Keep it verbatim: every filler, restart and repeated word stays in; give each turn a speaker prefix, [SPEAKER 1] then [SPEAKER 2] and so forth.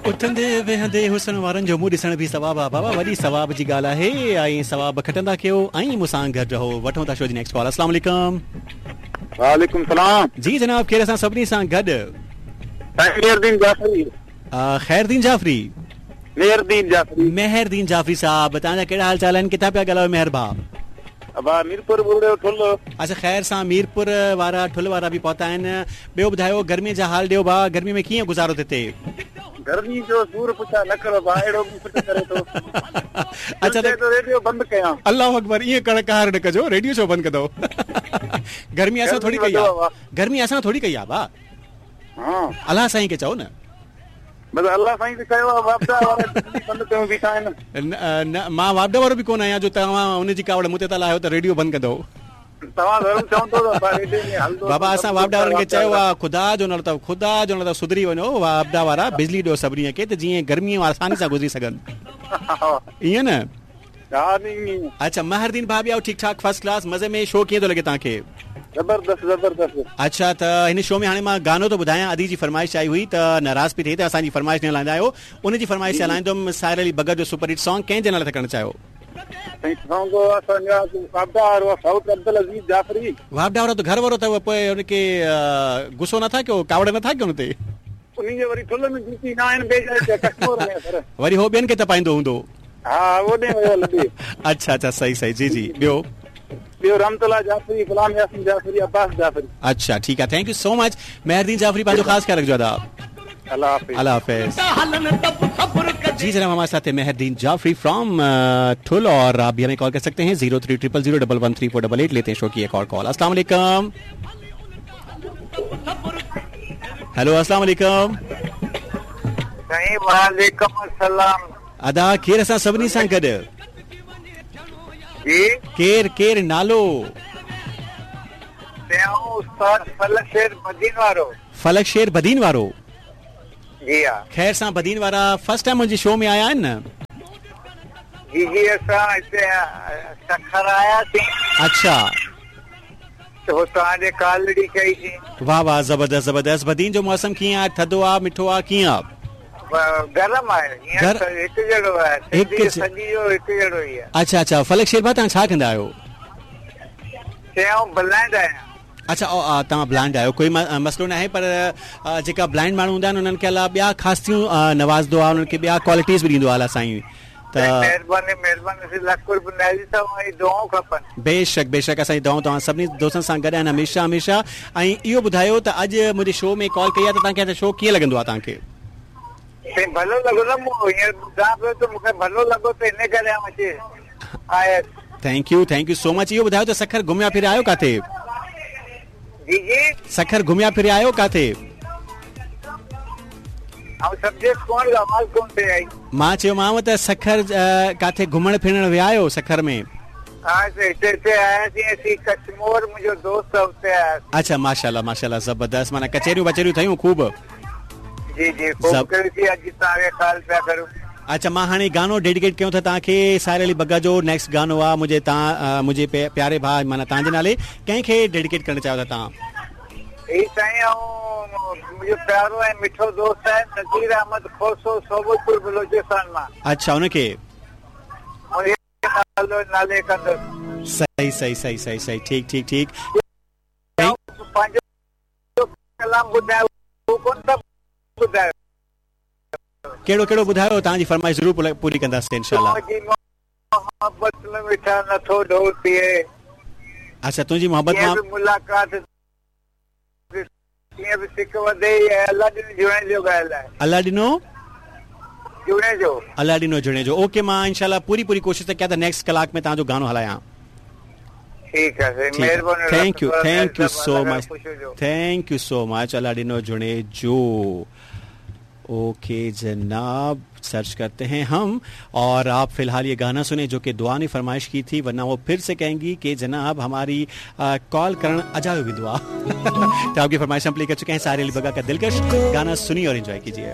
[SPEAKER 1] उथंदे वेहंदे हुसन वारनि जो मुंहुं ॾिसण बि सवाब आहे बाबा, वॾी सवाब जी ॻाल्हि आहे ऐं सवाब खटंदा कयो ऐं मूंसां गॾु रहो। वठूं था शो जी नेक्स्ट कॉल। अस्सलाम वालेकुम।
[SPEAKER 2] वालेकुम सलाम।
[SPEAKER 1] जी जनाब, केरु असां सभिनी सां गॾु?
[SPEAKER 2] खैरदीन जाफरी।
[SPEAKER 1] खैरदीन जाफरी?
[SPEAKER 2] मेहरदीन जाफरी।
[SPEAKER 1] मेहरदीन जाफरी साहब, तव्हांजा कहिड़ा हाल चाल आहिनि? किथां पिया ॻाल्हायो मेहर भाउ?
[SPEAKER 2] अबा मीरपुर बुड़े ठुल।
[SPEAKER 1] अच्छा, ख़ैर सां मीरपुर वारा ठुल वारा बि पहुता आहिनि। ॿियो ॿुधायो, गर्मीअ जा हाल ॾियो भाउ, गर्मी में कीअं गुज़ारो थिए थए?
[SPEAKER 2] गर्मी जो सूर पुछा न करो भाउ, अहिड़ो बि सुठ करे थो।
[SPEAKER 1] अच्छा, त
[SPEAKER 2] रेडियो बंदि कयां।
[SPEAKER 1] अल्लाह अकबर, ईअं करण कार न कजो, रेडियो छो बंदि कंदव? गर्मी असां थोरी कई आहे, गर्मी असां थोरी कई आहे भाउ।
[SPEAKER 2] हां,
[SPEAKER 1] अल्लाह साईं खे चओ न।
[SPEAKER 2] बस अल्लाह साईं खे कयो आहे, वापडा वारा बंदि कयो बीठा आहिनि।
[SPEAKER 1] न, मां वापडा वारो बि कोन आहियां जो तव्हां उनजी कावड़ मूं ते था लाहियो त रेडियो बंदि कंदव।
[SPEAKER 2] तव्हां ज़रूर चवंदो त रेडियो में हलंदो।
[SPEAKER 1] बाबा, असां वापडा वारनि खे चयो आहे, ख़ुदा जो नालो अथव, ख़ुदा जो नालो अथव, सुधरी वञो वापडा वारा, बिजली ॾियो सभिनी खे त जीअं गर्मीअ आसानी सां गुज़री सघनि। ईअं न? अच्छा, महरदीन भाउ बि आहियो ठीकु ठाक, फर्स्ट क्लास, मज़े में। शो कीअं थो लॻे तव्हांखे?
[SPEAKER 2] ज़बरदस्त ज़बरदस्त।
[SPEAKER 1] अच्छा, त हिन शो में हाणे मां गानो थो ॿुधायां। अदी जी फरमाइश आई हुई त नाराज़ पई थिए त असांजी फरमाइश न हलाईंदा आहियो, उनजी फरमाइश हलाईंदुमि। साहिर अली बगत जो सुपर हिट सॉन्ग कंहिंजे नाले था करणु चाहियो? वापडा वारो त घर वारो अथव, पोइ हुनखे गुस्सो नथा कयो, कावड़ नथा कयो हुन ते? वरी हो ॿियनि खे तपाईंदो हूंदो। अच्छा अच्छा, सही सही, जी जी। ॿियो?
[SPEAKER 2] ॿियो रमतुल्ला जाफरी, गुलाम यासीन जाफरी, अब्बास जाफरी।
[SPEAKER 1] अच्छा, ठीकु आहे, thank you so much Mehardeen Jafri, पंहिंजो ख़ासि ख़्यालु रखिजो अदा।
[SPEAKER 2] अल्लाह हाफ़िज़।
[SPEAKER 1] अल्लाह हाफ़िज़। जी जनाब, हमारे साथ है मेहरदीन जाफरी फ्रॉम ठुल, और आप भी हमें कॉल कर सकते हैं zero three triple zero double one three four double eight. लेते हैं शो की एक और कॉल। अस्सलाम वालेकुम। हेलो, अस्सलाम वालेकुम।
[SPEAKER 3] वालेकुम अस्सलाम।
[SPEAKER 1] अदा केरु असां सभिनी सां गॾु?
[SPEAKER 3] जी
[SPEAKER 1] केरु केरु नालो?
[SPEAKER 3] उस्ताद फलक शेर बदीन वारो।
[SPEAKER 1] फलक शेर बदीन वारो?
[SPEAKER 3] जी हा।
[SPEAKER 1] ख़ैर सां बदीन वारा फर्स्ट टाइम मुंहिंजे शो में आया आहिनि न?
[SPEAKER 3] जी जी, असां हिते सखर आयासीं।
[SPEAKER 1] अच्छा,
[SPEAKER 3] त तव्हांजे कॉल ॾिठी कईसीं।
[SPEAKER 1] वाह वाह, ज़बरदस्त ज़बरदस्त। बदीन जो मौसम कीअं आहे? थधो आहे, मिठो आहे, कीअं आहे?
[SPEAKER 3] गरम आहे, हिकु जहिड़ो आहे, हिकु सॼी जो हिकु जहिड़ो ई आहे।
[SPEAKER 1] अच्छा अच्छा, फलक शेर भाउ तव्हां छा कंदा आहियो?
[SPEAKER 3] आउं ब्लाइंड आहियां।
[SPEAKER 1] अच्छा, तव्हां ब्लाइंड आहियो, कोई मसइलो न आहे, पर जेका ब्लाइंड माण्हू हूंदा आहिनि उन्हनि खे अलाह ॿिया ख़ासियूं नवाज़दो आहे, उन्हनि खे ॿिया क्वालिटीज़ बि ॾींदो आहे अलाह साईं। त
[SPEAKER 3] महिरबानी महिरबानी, लख क़ुर्ब नाज़ी दुआऊं खपनि।
[SPEAKER 1] बेशक बेशक, असांजी दुआऊं तव्हां सभिनी दोस्तनि सां गॾु आहिनि हमेशह हमेशह। ऐं इहो ॿुधायो त अॼु मुंहिंजे शो में कॉल कई आहे त तव्हांखे शो कीअं लॻंदो आहे तव्हांखे?
[SPEAKER 3] भलो लॻो न, मूं हींअर ॿुधां पियो त मूंखे भलो लॻो त इन करे आउं अची आयुसि।
[SPEAKER 1] Thank you, thank you so much. इहो ॿुधायो त सखर घुमिया फिरिया आहियो किथे?
[SPEAKER 3] जी जी,
[SPEAKER 1] सखर घुमिया फिरिया आहियो किथे?
[SPEAKER 3] आवाज़ कोन थी आई।
[SPEAKER 1] मां चयोमांव त सखर किथे घुमण फिरण विया आहियो सखर में?
[SPEAKER 3] हा, हिते हिते आयासीं असीं, कश्मोर मुंहिंजो दोस्त आहे उते आयासीं।
[SPEAKER 1] अच्छा, माशाल्लाह माशाल्लाह, ज़बरदस्त। माना कचहरियूं वचहरियूं थियूं ख़ूब?
[SPEAKER 3] जी जी, ख़ूब कईसीं। अॼु तव्हांखे कॉल पिया करूं।
[SPEAKER 1] अच्छा, मां हाणे गानो डेडिकेट कयूं था तव्हांखे, साहिर अली बग्गा जो नेक्स्ट गानो आहे मुंहिंजे तव्हां मुंहिंजे प्यारे भाउ माना तव्हांजे नाले, कंहिंखे डेडिकेट करणु चाहियो था तव्हां?
[SPEAKER 3] ही साईं, ऐं मुंहिंजो प्यारो ऐं मिठो दोस्त आहे नज़ीर अहमद खोसो, सोबतपुर बलोचिस्तान मां।
[SPEAKER 1] अच्छा, उनखे
[SPEAKER 3] नालो नाले कंदुसि।
[SPEAKER 1] सही सही सही सही सही, ठीकु ठीकु ठीकु।
[SPEAKER 3] पंहिंजो कलाम ॿुधायो, कोन था ॿुधायो?
[SPEAKER 1] कहिड़ो कहिड़ो ॿुधायो? तव्हांजी फरमाइश ज़रूरु पूरी कंदासीं इंशाअल्लाह।
[SPEAKER 3] मोहब्बत में मिठा नथो ढो थिए।
[SPEAKER 1] अच्छा, तुंहिंजी मोहब्बत मां
[SPEAKER 3] मुलाक़ात कीअं बि सिक वधे। अलाह ॾिनो जुणेजो ॻाल्हि आहे।
[SPEAKER 1] अलाह ॾिनो
[SPEAKER 3] जुणेजो,
[SPEAKER 1] अलाह ॾिनो जुणेजो। ओके, मां इंशाअल्लाह पूरी पूरी कोशिश त कयां त नेक्स्ट कलाक में तव्हांजो गानो हलायां।
[SPEAKER 3] ठीकु आहे, महिरबानी।
[SPEAKER 1] Thank you, thank you so much, thank you so much. अलाह ॾिनो जुणेजो। ओके जनाब, सर्च करते हैं हम, और आप फिलहाल ये गाना सुने जो कि दुआ ने फरमाइश की थी, वरना वो फिर से कहेंगी कि जनाब हमारी आ, कॉल करण अजायो भी दुआ। तो आपकी फरमाइश हम प्ले कर चुके हैं, साहिर अली बग्गा का दिलकश गाना सुनिए और एंजॉय कीजिए।